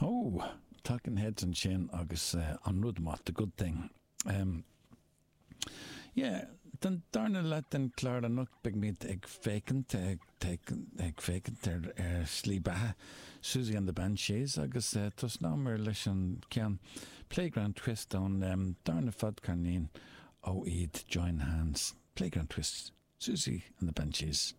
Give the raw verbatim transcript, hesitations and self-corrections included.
Oh, Talking Heads ansin agus uh, an rud maith, the good thing. Um, yeah, den darna leath den chlár anocht beimid ag féachaint ag ag féachaint ar ar slí beatha Siouxsie and the Banshees agus uh, tosnóimid leis an ceann Playground Twist ón um, darna fadcheirnín ó iad Join Hands. Playground Twist, Siouxsie and the Banshees.